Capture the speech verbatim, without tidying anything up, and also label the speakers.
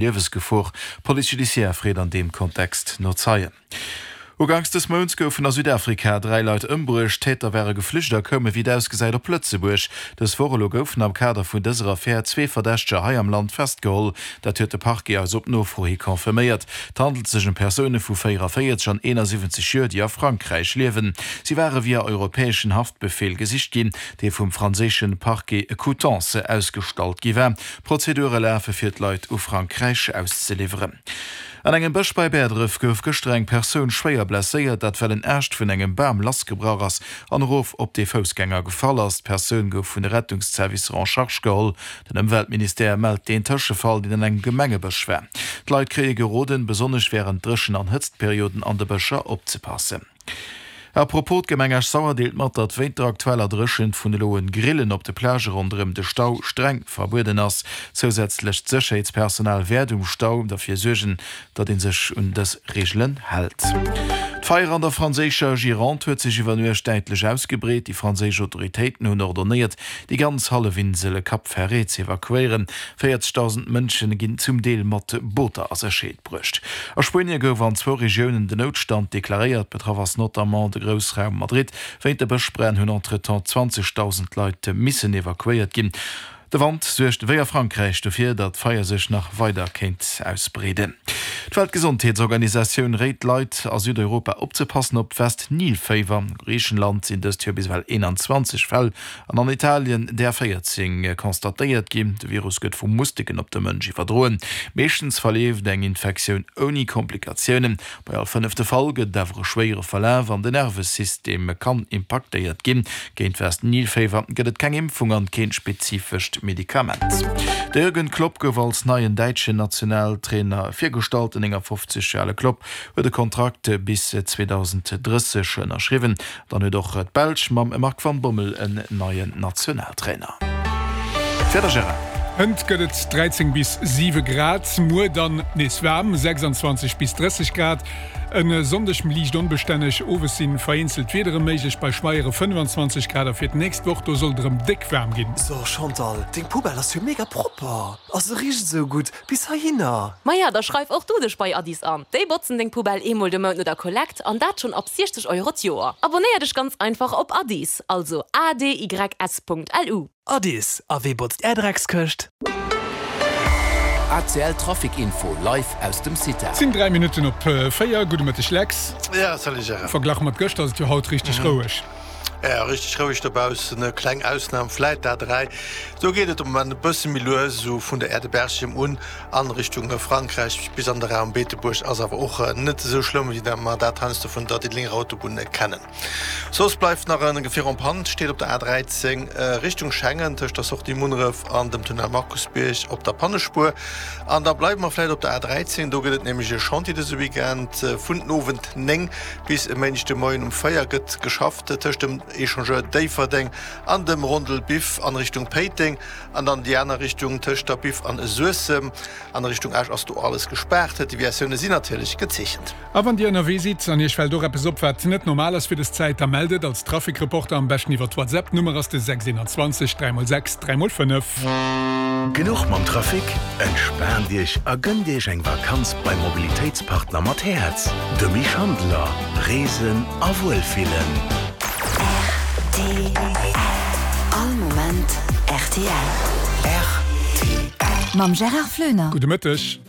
Speaker 1: Liewesgefor. D'Police judiciaire freet an deem Kontext no Zeien. Uganks des Mounts goufen a Südafrika dräi Leit ëmbruecht. D'Täter ware geflücht a koume wéi et ausgesäit op Lëtzebuerg. Dës Woch elo goufen am Kader vun dëser Affär zwee Verdächteger hei am Land festgeholl. Dat huet de Parquet eis op Nofro hi confirméiert. Et handelt sech ëm Persoune vu véieranvéierzeg an eenasiwwenzeg Joer, déi a Frankräich liewen. Si ware via europäeschen Haftbefeel gesicht ginn, dee vum franséische Parquet Coutances ausgestallt gi war. Prozedure lafe fir d'Leit u Frankräich auszeliwweren. An engem Bësch bei Bäerdref gouf gëschter eng Persoun schwéier blesséiert, dat well en Aascht vun engem Bam lassgebrach ass an erof op dee Foussgänger gefall ass. D'Persoun gouf vun de Rettungszervicer en charge geholl. Den Ëmweltministère mellt deen Tëschefall, deen an engem Gemengebësch war. D'Leit kréie geroden, besonnesch wärend Dréchen an Hëtztperioden an de Bëscher opzepassen. A propos, d'Gemeng Esch-Sauer deelt mat, datt wéint der aktueller Dréchent vun elo un Grillen op de Plagë ronderëm de Stau streng verbueden ass. Zousätzlecht Sécherheetspersonal wäert um Stau derfir suergen, datt ee sech un dës Reegelen hält. D'Feier an der franséischer Gironde huet sech iwwer Nuecht däitlech ausgebreet. Déi franséisch Autoritéiten hunn ordonéiert, déi ganz Hallefinsel Cap Ferret z'evakuéieren. véierzegdausend Mënsche ginn zum Deel mat Booter a Sécherheet bruecht. A Spuenie gouf an zwou Regiounen den Noutstand deklaréiert. Betraff ass notamment de Groussraum Madrid. Wéint de Bëschbränn hunn entretemps zwanzegdausend Leit missen evakuéiert ginn. De Wand suergt wéi a Frankräich dofir, datt d'Feier sech nach weider kéint ausbreeden. D'Weltgesondheetsorganisatioun réit d'Leit a Südeuropa opzepassen op d'West-Nil-Féiwer. A Griichenland sinn dëst Joer bis ewell eenanzwanzeg Fäll an an Italien där véierzéng constatéiert ginn. De Virus gëtt vu Musteken op de Mënsch iwwerdroen. Meeschtens verleeft eng Infektioun ouni Komplikatiounen. Bei all fënnefte Fall gëtt et awer e schwéiere Verlaf an den Nervesystem kann impaktéiert ginn. Géint West-Nil-Féiwer gëtt et keng Impfung an keen spezifescht Medikament. De Jürgen Klopp gouf als neien däitschen Nationaltrainer virgestallt. Den néngafofzeg Joer ale Klopp huet e Kontrakt bis zweedausenddrësseg ënnerschriwwen. Dann huet och d'Belsch mam Marc van Bommel en neien Nationaltrainer. D'Wieder, Gérard.
Speaker 2: Hënt gëtt et dräizéng bis siwe Grad, muer dann nees waarm, sechsandzwanzeg bis drësseg Grad. E Sonndeg liicht onbestänneg, owes si vereenzelt Wiedere méiglech bei schweiere fënnefanzwanzeg Grad. A fir d'nächst Woch, do soll et erëm déck waarm ginn.
Speaker 3: So Chantal, deng Poubelle ass jo mega propper a se richt esou gutt bis heihinner.
Speaker 4: Maja, da schreif och du dech bei Addis an. Déi botzen deng Poubelle eemol de Mount no der Kollekt an dat schonn ab siechzeg Euro d'Joer. Abonnéier dech ganz einfach op Addis, also A D Y S Punkt L U.
Speaker 3: Addis, a wee botzt är Dreckskëscht?
Speaker 5: A C L Trafic Info live aus dem CITA.
Speaker 2: Et sinn dräi Minutten op véier. Gudde Mëtteg Lex.
Speaker 6: Ja, salut Gérard.
Speaker 2: Verglach mat gëschter ass et jo haut richteg roueg.
Speaker 6: Ja, richteg roueg dobaussen, kleng Ausnam vläit d'A dräi. Do geet et de Moment e bësse méi lues, esou vun der Aire de Berchem un an Richtung Frankräich bis an de Raum Beetebuerg ass awer och net esou schlëmm, wéi mer dat heiansdo vun der Diddelenger Autobunn kennen. Soss bleift nach e Gefier en panne, steet op der A dräizéng Richtung Schengen tëscht der Sortie Munneref an dem Tunnel Markusbierg op der Pannespuer. An da bleiwe mer vläit op der A dräizéng, do gëtt et nämlech e Chantier dëse Weekend. Vun den Owend néng bis e Méindeg de Moien um véier gëtt geschafft tëscht dem Echangeur Déifferdeng an dem Rondel Biff an Richtung Péiteng an dann déi aner Richtung tëscht der Biff an Suessem. An Richtung Esch ass do alles gespaart. D'Deviatioune sinn natierlech gezeechent.
Speaker 2: A wann Dir ënnerwee sidd an Iech fält och eppes op, wat net normal ass fir des Zäit, da mellt et als Trafikreporter am beschten iwwer WhatsApp. D'Nummer ass de sechs eenanzwanzeg dräi mol sechs dräi mol fënnef.
Speaker 7: Genuch mam Trafic? Entspaant Iech a gënnt Iech eng Vakanz beim Mobilitéitspartner mat Häerz, dem Schandler. Reesen a Wuelfillen.
Speaker 8: R T L. All Moment R T L.
Speaker 7: R T L.
Speaker 8: Mam Gérard Floener.
Speaker 2: Gudde Mëtteg.